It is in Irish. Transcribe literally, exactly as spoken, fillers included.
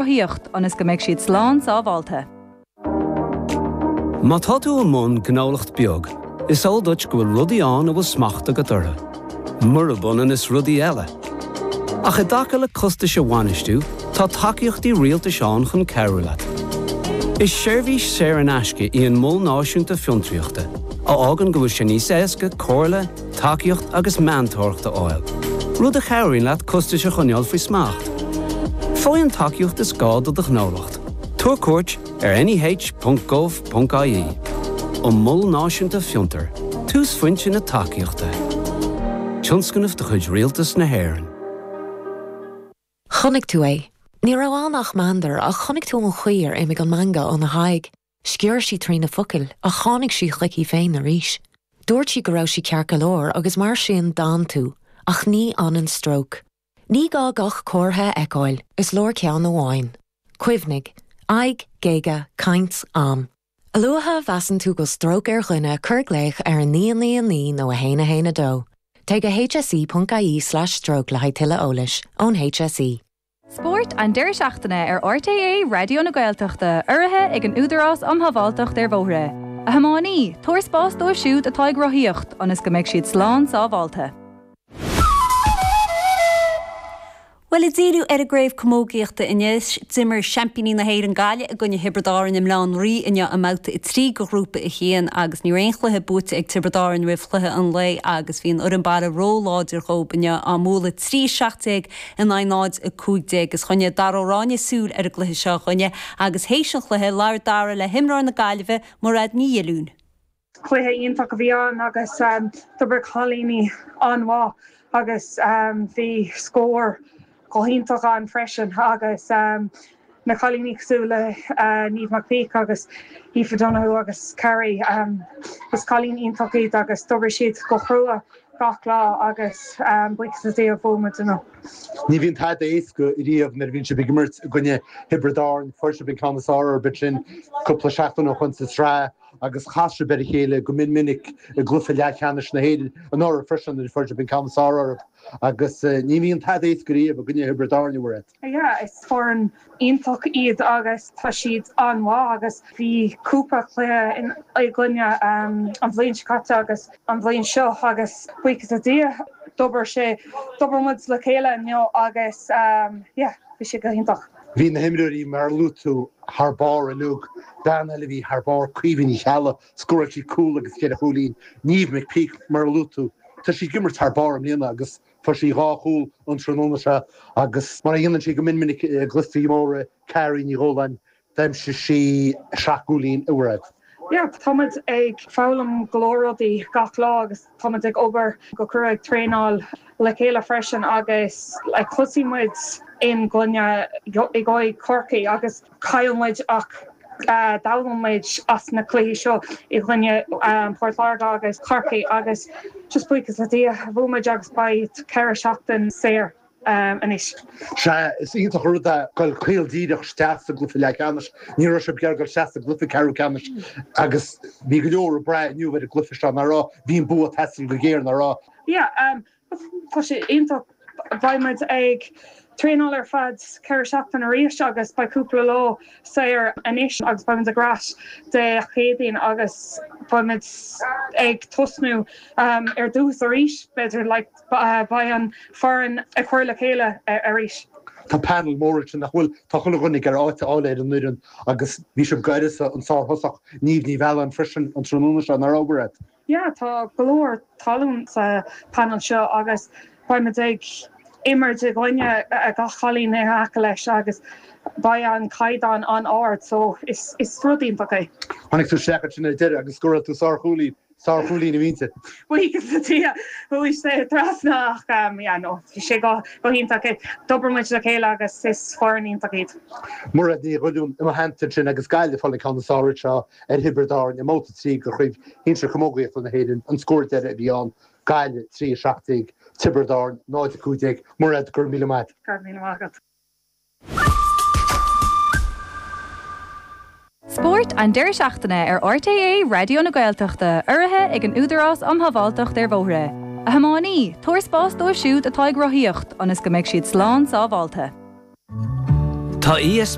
rothaíocht ionas go mbeidh siad slán sábháilte. Má tá tú i mbun gnólacht beag, is eol duit go bhfuil rudaí ann a bhfuil smacht agat orthu. Murab ionann is rudaí eile. Ach i dtaca le costais a bhainistiú, tá tacaíochtaí rialtais ann chun cabhrú leat. Is seirbhís saor in aisce í an Mol Náisiúnta Fiontraíochta, a fhágann go bhfuil sé níos éasca comhairle, tacaíocht agus meantóireacht a fháil. Rud a chabhraíonn leat costais a choinneáil faoi smacht. Faigh an tacaíocht is gá do do ghnólacht. Tabhair cuairt ar neh.gov.ie. An Mol Náisiúnta Fiontar, túsphointe na tacaíochta. Tionscnamh de chuid Rialtas na hÉireann. Chonaic tú é. Ní raibh ann ach meandar ach chonaic tú an chaoi ar imigh an meangadh óna haghaidh. Sciorr sí trí na focail ach tháinig sí chuici féin arís. Dúirt sí go raibh sí ceart go leor agus mar sin d'fhan tú, ach ní fhanann stróc. Ní gá gach comhartha a fheiceáil is leor ceann amháin. Cuimhnigh, aghaidh, géaga, caint, am. A luaithe a mheasann tú go stróc ar dhuine cuir glaoch ar a naoi naoi naoi nó a haon a haon a dó. Téigh go hse.ie slash stroke le haghaidh tuilleadh eolais ón HSE. Spórt an deireadh seachtaine ar RTÉ Raidió na Gaeltachta urraithe ag an Údarás um Shábháilteacht ar Bhóithre. A thiománaí, tabhair spás dóibh siúd atá ag rothaíocht ionas go mbeidh siad slán sábháilte. Well ag díriú ar an gcraobh camógaíochta anois d'imir seaimpíní na hÉireann Gaillimh i gcoinne Thiobraid Árann i mBaile Átha an Rí inniu i mbabhta a trí de ghrúpa a haon agus ní raibh aon chluiche buaite ag Tiobraid Árann roimh chluiche an lae agus bhí an fhoireann baile róláidir dóibh inniu á mbualadh trí seacht déag in aghaidh náid a cúig déag is choinnigh Dara Ó Ráinne súil ar an gcluiche seo chugainne agus théis an chluiche labhair Dara le himreoir na Gaillimhe Mairéad Ní Dhilliúin. Cluiche iontach a bhí ann agus d'oibrigh cailíní an-mhaith agus bhí scór go hiontach ann freisin agus na cailíní cosúil le Niamh McPeak agus Aoife Donoghue agus Carrie is cailíní iontach iad agus d'oibrigh siad go crua gach lá agus buíochas le Dia bhuaigh muid inniu. Ní bhíonn tada éasca riamh nuair a bhíonn sibh ag imirt i gcoinne Thiobraid Árann, fuair sibh an ceann is fearr orthu sin cúpla seachtain ó shin sa tsraith agus chas sibh ar a chéile go mion minic i gcluiche leathcheannais na hÉireann anuraidh freisin nuair a fuair sibh an ceann is fearr orthu agus ní bhíonn tada éasca riamh i gcoinne Thiobraid Árann a Mhairéad. Yeah, is foireann iontach iad agus tá siad an-mhaith agus bhí cúpla cluiche i gcoinne an bhliain seo caite agus an bhliain seo agus buíochas le Dia d'oibrigh sé d'oibrigh muid le chéile inniu agus yeah, bhí sé go hiontach. Bhí na himreoirí mar a luaigh tú thar barr inniu, bean eile a bhí thar barr Caoimhe Ní Cheallaigh, scóráil sí cúl agus ceithre chúilín, Niamh McPeak mar a luaigh tú, tá sí ag imirt thar barr i mbliana agus fuair sí dhá chúl an tráthnóna seo agus mar a dhéanann sí go mion minic i gcluichí móra Carrie Ní Dhóláin, d'aimsigh sí seacht gcúilín a Mhairéad. Yeah, táimid ag foghlaim go leor rudaí gach lá agus táimid ag obair go crua ag traenáil le chéile freisin agus like, thosaigh muid in gcoinne i gcoinne Corcaigh agus chaill muid ach uh, d'fhoghlaim muid as na cluichí seo i gcoinne um, Port Láirge agus Corcaigh agus just buíochas le Dia bhuaigh muid agus beidh ceithre seachtain saor um, anois. Sea is iontach rud é dul caol díreach isteach sa gcluiche leathcheannais, ní raibh sibh ag dul isteach sa gcluiche ceathrú ceannais agus bhí go leor ag brath inniu ar an gcluiche seo nach raibh bhí an bua ag teastáil go géar nach raibh. Yeah, um, tá sé iontach beidh muid ag traenáil ar feadh ceithre seachtain arís agus beidh cúpla lá saor anois agus beidh muid ag ar ais Dé Céadaoin agus beidh muid ag tosnú um, ar dtús arís b'fhéidir like, beidh an foireann ag cur le chéile arís. Tá panel mór sin nach bhfuil tá chuile dhuine ar áit a fháil ar an bhfoireann agus bhí sibh gairis an sárthosach Niamh Ní Mhealláin freisin an tráthnóna seo nach raibh Mhairéad. Yeah, tá go leor tallann sa panel seo agus beidh ag imirt i gcoinne gach cailín in aice leis agus beidh an caighdeán an-ard so is is rud iontach é. Tháinig tú isteach sin ar deireadh agus scóráil tú sárchúilín sárchúilín a mhínte. Buíochas le Dia chuaigh sé trasna ach um, yeah, no, bhí sé go go hiontach é. D'oibrigh muid le chéile agus is foireann iontach iad. Mairéad Ní Dhuilliún i mo theannta sin agus Gaillimh ag fáil an ceann is fearr seo ar Thiobraid Árann i mbabhta trí de chraobh shinsir camógaíochta na hÉireann an scór deiridh a bhí ann Gaillimh trí a seacht déag Tiobraid Árann náid a cúig déag Mairéad go raibh míle maith. Go raibh míle maith agat. Spórt an deireadh seachtaine ar RTÉ Raidió na Gaeltachta urraithe ag an Údarás um Shábháilteacht ar Bhóithre. A thiománaí, tabhair spás dóibh siúd atá ag rothaíocht ionas go mbeidh siad slán sábháilte. Tá Tá ESB